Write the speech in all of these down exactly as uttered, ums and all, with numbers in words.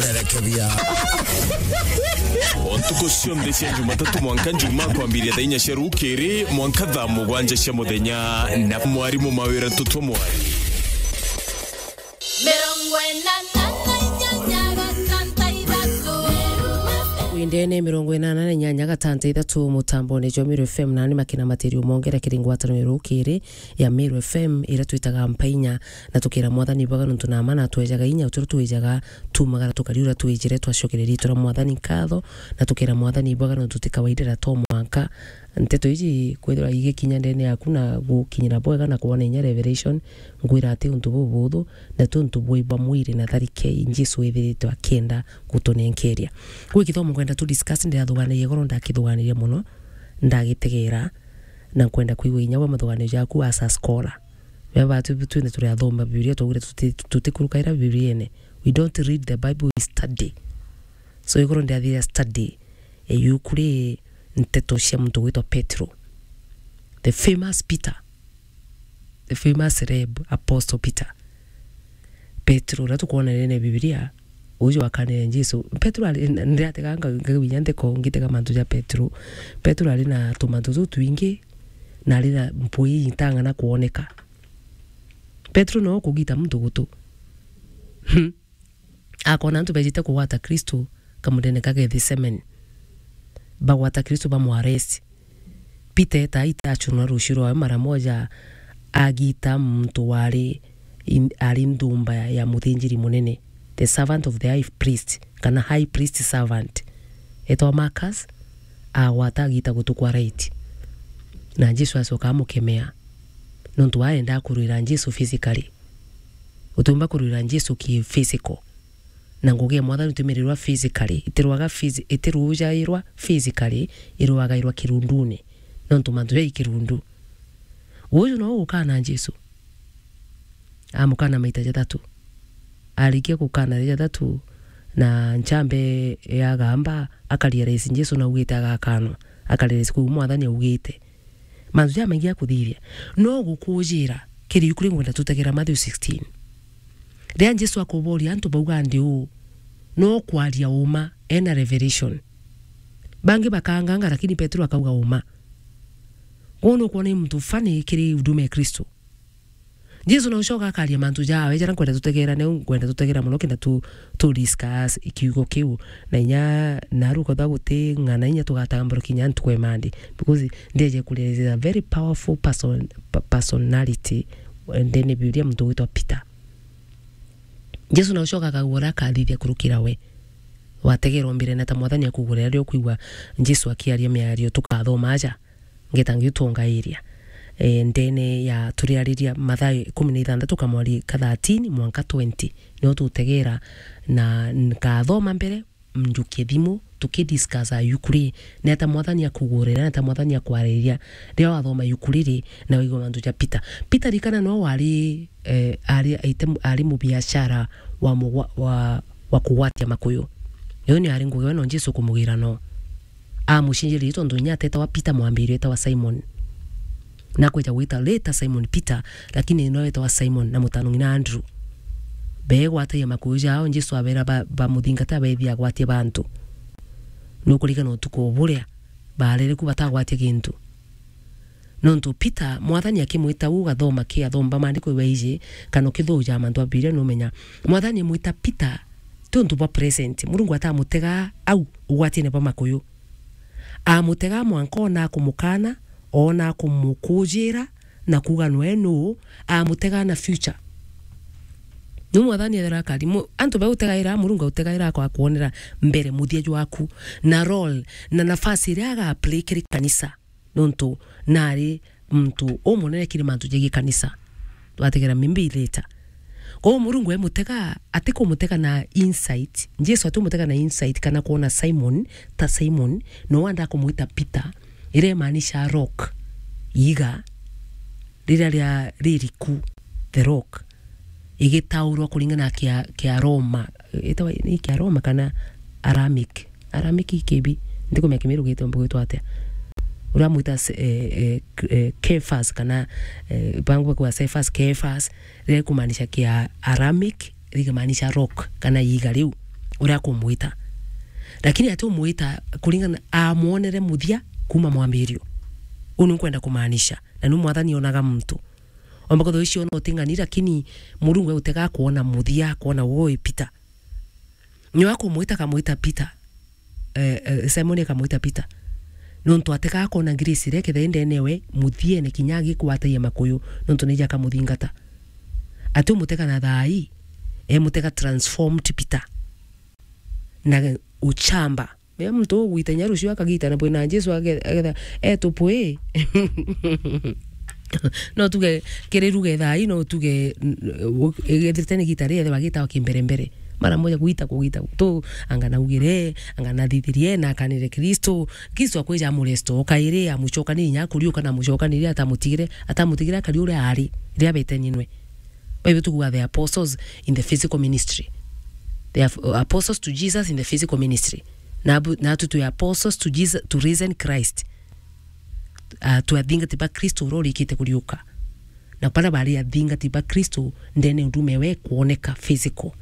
Erekebia. O ntuku cionthe cia Jumatatu mwanka Njumaa, kwambiria thaa inya cia rukiri mwanka thaa mugwanja cia muthenya, na mwarimu Mawira Tutwa Mwari. Mirongo inana na inyanya gatanta ithatu. Windene mirongo inana na inyanya gatanta ithatu, mutambone jwa Meru F M, nani makina matirio mongera kiri ngwataniro rukiri ya Meru F M, ira twitaga Mpainya, na tukira Mwathani ibwaga nontu na ma natwejaga inya, utiro twijaga, tumagara tukariura twijire, twacokeria riitwa ria Mwathani nkatho, na tukira Mwathani ibwaga nontu ti kawaida ra to mwanka nteto iji kwithirwa igikinya ndene yaku na gukinyira bwega na kwona inya revelation, nkwira ati untu bubuthu, na ti untu bwi bwa mwiri na tharike Jesu withirite akienda gutunenkeria. Gwi kithomo nkwenda tu discuss, ndirathuganirie igoro, ndakithuganirie mono, ndagitegera, na nkwenda kwigua inya bwa mathuganio jaku as a scholar. Beba tu twine turi athoma Biblia, twaugire tuti-, tutikurukaira Bibliene. We don't read the Bible, we study. So igoro ndiathire study, e, yu kuri nteto cia muntu gwitwa Petro. The famous Peter. The famous celeb apostle Peter. Petro, uria tukwona ndene Biblia, uju wakanire Jesu. Petro ari, ndiratega nga-, ngaginya ntheko ngitega mantu ja Petro. Petro ari na tumantu tutwingi, na ari na mpui intang'ana kwoneka. Petro no kugita muntu gutu. Hmm. Akona antu bejite kugwata Kristo kamudene ka Gethsemane. Bagwata Kristo, bamwaresi. Peter eta aita achunwa rucio rwawe mara moja, agita muntu wari in-, ari nthumba ya, ya muthinjiri munene, the servant of the high priest, kana high priest servant, etwa Marcus, agwata agita gutu kwa right. Na Jesu acoka amukemea, nontu arenda kurwira Jesu physically. Utiumba kurwira Jesu ki physical. Na ngugi ya Mwathani itiumirirwa physically, itirwaga phys-, itirujairwa physically, irwagairwa kirundune, nontu mantu jai kirundu. Uju no gukana Jesu. Amukana maita jathatu. Arikia gukana ria jathatu, na nchambe ya gamba, akarealize Jesu naugite agakanwa. Akarealize kuu Mwathani augite. Mantu jamaingi ja kuthithia. No gukujira kiri yu kuri ngwenda tutegera Matthew sixteen. Riria Jesu akuboria antu bauga ndi uu, no kwaria uma, ena revelation. Bangi bakanganga, lakini Petero akauga uma. Kwou nukwona i muntu funny kiri huduma ya Kristo. Jesu na ucoka akaria mantu jawe jaria nkwenda tutegera, neu nkwenda tutegera mono kenda tu, tu discuss kiugo kiu. Na inya naru kotha guti ng'ana inya tugatambura kinya ntuku ya Monday. Because ndeje kuria is a very powerful person, pa-, personality ndene Biblia, muntu witwa Peter. Jesu na ucoka akauga uria akathithia kurukira we. Wategera umbire na ta Mwathani akugurira riria ukwigua Jesu akiaria miario tukathoma aja. Ngeta ngiutungairia. E, ndene ya turiariria Mathayo ikumi na ithanthatu kamwari ka thirteen mwanka twenty. Nio tutegera na nkathoma mbere, njukie thimu, tukidiscuss ayukuri. Neta Mwathani akugurira, neta Mwathani akwariria. Riria wathoma yukuri ri, na waigua mantu ja Peter. Peter rikana no wari, e, ari, aite mu-, ari mubiashara wa mugwa-, wa, wa kugwatia makuyu. Iyo ni ari ngugi we no Jesu kumugira no. Amucinjirie tontu inya atetawa Peter mwambiri, etawa Simon. Na kwija gwita later Simon Peter, lakini no etawa Simon na mutano ng'ina Andrew. Begwatagia makuyu jao, Jesu abera ba, bamuthingata, beethia agwatie bantu. Nukurigana utuku buria barere ku batagwatia gintu. Nontu Peter, Mwathani akimwita u gathoma ki athomba maandiko ibaiji, kana ukithuja mantu a Biblia numenya. Mwathani amwita Peter, ti untu bwa present. Murungu atamutega au ugwatine bwa makuyu. Amutega mwanka ona akumukana, ona akumukujira, na kuuga nwe nuu, amutega na future. Nu Mwathani ethera akari, mu-, antu bautegaira, Murungu autegaira akwa kuonera mbere muthia jwaku, na role, na nafasi iria aga play kiri kanisa. Nontu nari muntu umunene kiri mantu jegii kanisa. Twategera maybe later. Kwou Murungu emutega, atikumutega na insight. Jesu atimutega na insight kana kwona Simon, ta Simon, no wanda kumwita Peter, iria imaanisha rock, iiga, riria ria ririku, the rock. Igitaurwa kuringana na kia, kia Roma. Itawa ni kia Roma kana Aramaic? Aramaic kibi. Ndikumenya Kimiru gitwa, gwitwa atia? Uria mwita se-, eh, eh, k-, eh, Kephas kana, eh, bangu kwa Cephas, Kephas, riria rikumaanisha kia Aramaic, rikamaanisha rock kana iiga riu. uria akumwita. Lakini ati umwita kuringana, amwonere muthia kuma mwambirio. Uu ni nkwenda kumaanisha. Na ni Mwathani onaga muntu. Omba kwithirwa icio no uting'ani, lakini Murungu egutega kwona muthia, kwona woi Peter. Nyo akumwita, akamwita Peter. Eh, eh, Simon akamwita Peter. Nontu atega akona grace iria kethira indene we, muthiene kinya agikwatagia makuyu, nontu nija akamuthingata. Ati umutega na thai, emutega transformed Peter. Na uchamba. Mea muntu ugwita inya rucio akagita na bwina Jesu age-, agetha etupwi. No tuge kiri ruge thai, no tuge, n-, u-, igethirite ni gita ri ethirwa gitawa kimbere mbere. Mara moja kugita, kugita. Tu, anga naugire, anga nathithirie, na akanire Kristo. Kristo akwija amuresto, ukairi amucokanirie inya akuriuka na amucokanirie atamutigire, atamutigire akari uria ari, ria beteni nwe. Bible tukuga the apostles in the physical ministry. They are apostles to Jesus in the physical ministry. Na abu-, na tu twi apostles to Jesus, to risen Christ. Uh, twi athingati ba Kristo uria urikite kuriuka. Na baria bari athingati ba Kristo ndene ndume we kuoneka physical.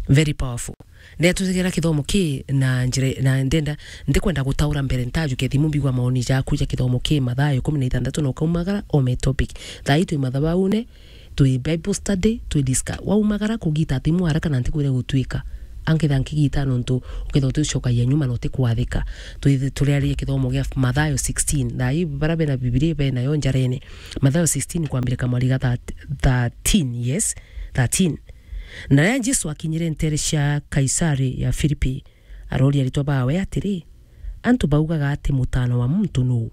Very powerful. Ndetutegera kithomo ki na njira, na ndenda, ndikwenda gutaura mbere ntajukia thimu mbigwa maoni jaku ja kithomo ki Mathayo ikumi na ithanthatu na ukaumagara ome topic. Thaa ii twi mathabaune, twi Bible study, twi discuss. Waumagara kugita thimu haraka na ntikwire gutwika. Anketha nkigita nontu uketha uticokagia nyuma na utikwathika. Twi-, turiaria kithomo gia Mathayo sixteen. Thaa ii bara bena Bibilia benayo njarene. Mathayo sixteen kwambirika mwari ga thirteen, yes, thirteen. Na riria Jesu akinyire nteere cia Kaisari ya Filipi, aroria aritwa baawe atiri, "Antu baugaga ati Mutaana wa Muntu nuu?"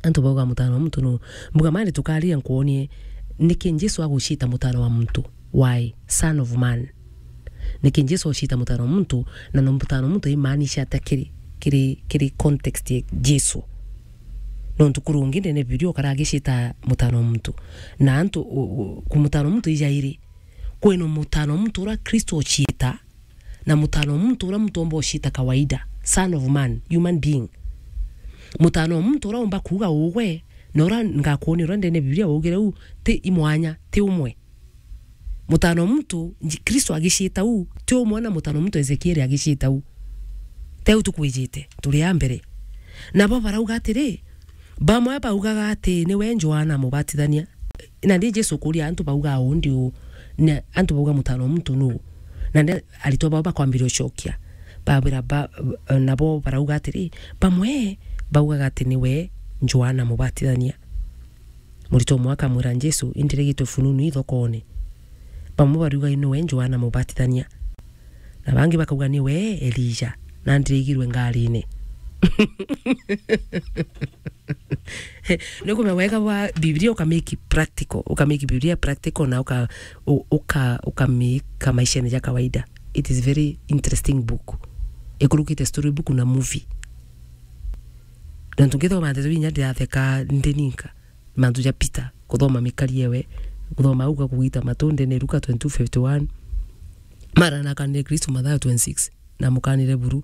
Antu baugaga Mutaana wa Muntu nuu? Mbuga mani tukaria nkwonie niki Jesu aguciita Mutaana wa Muntu. Why? Son of Man. Niki Jesu aguciita Mutaana wa Muntu, na no Mutaana wa Muntu imaanisha ata kiri, kiri, kiri context ya Jesu? Nontu kurungi ndene Bibilia ukara agiciita Mutaana wa Muntu. Na antu, u-, u-, ku Mutaana wa Muntu ijairi. Kwina Mutaana wa Muntu uria Kristo uciita, na Mutaana wa Muntu uria muntu omba uciita kawaida, Son of Man, human being. Mutaana wa Muntu uria omba kuuga ugwe, na uria ngakwonia uria ndene Bibilia waugire u, ti imwanya, ti umwe. Mutaana wa Muntu, Nji-, Kristo agiciita u, ti umwe na Mutaana wa Muntu Ezekieli agiciita u. Teu tukwijite, turi a mbere. Nabo barauga atiri, bamwe baugaga ati niwe Johana Mubatithania. Na ndi Jesu kuria antu bauga uu ndi uu, na antu bauga Mutaana wa Muntu nuu? Na ndi aritwa bao bakwambiria ucokia. Babira ba-, nabo barauga atiri, bamwe baugaga ati niwe Johana Mubatithania. Muritwa umwe akamwira Jesu, "Indirigitwe fununu ithokone." Bamwe bariuga niwe Johana Mubatithania. Na bangi bakauga niwe Elija, na ndirigirwe ngarine. Ni kumenya wega bwa Biblia uka make practical, uka make Biblia practical na uka, u-, uka, uka make maishene ja kawaida. It is very interesting book. Ikurukite story book na movie. Na tungithoma ndeto inya ndiratheka ndi ninka. Mantu ja Peter, kuthoma mikari ewe, kuthoma au ga kugita matu ndene Luka twenty-two fifty-one. Mara na akanire Kristo Mathayo twenty-six, na mukanire buru.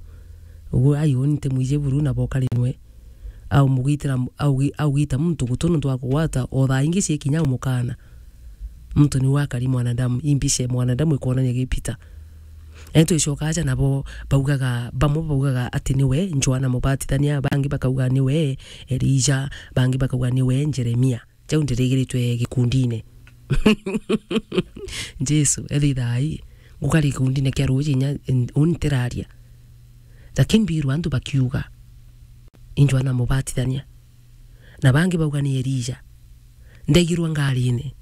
Ugu ai uni nti mwiji buru na bokari nwe. Au mugitira, au gi-, au gita muntu gutu nontu wa kugwata, o thaa ingi cie kinya umukana. Muntu niwe akari mwanadamu, imbica ya mwanadamu ikwonania gi Peter. Eni twicoka aja nabo baugaga, bamwe baugaga ati niwe Johana Mubatithania, bangi bakauga niwe Elija, bangi bakauga niwe Jeremia. Jau ndirigiritwe gikundine. Jesu, ethi thai, ngukari gikundine kia ruuji inya, uni ntiraria. Lakini mbirwa antu bakiuga, i Johana Mubatithania. Na bangi bauga ni Elija. Ndaigirwa ngarine.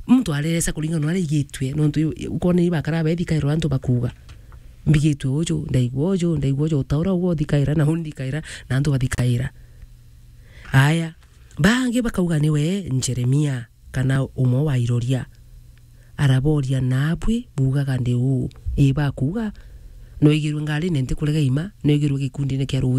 Muntu areresa kuringana na uria aigitue, nontu ukona ni bakara bethikairwa antu bakuuga. Mbigitue uju, ndaigua uju, ndaigua uju, utaura uguo uthikaira, na uni ndikaira, na antu bathikaira. Aya, bangi bakauga niwe Jeremia, kana umwe wa iroria. Araboria, "Naabui buugaga ndi uu?" Ii, bakuuga, "Noigirwe ngarine ntikurega ima, noigirwe gikundine kia ruuji."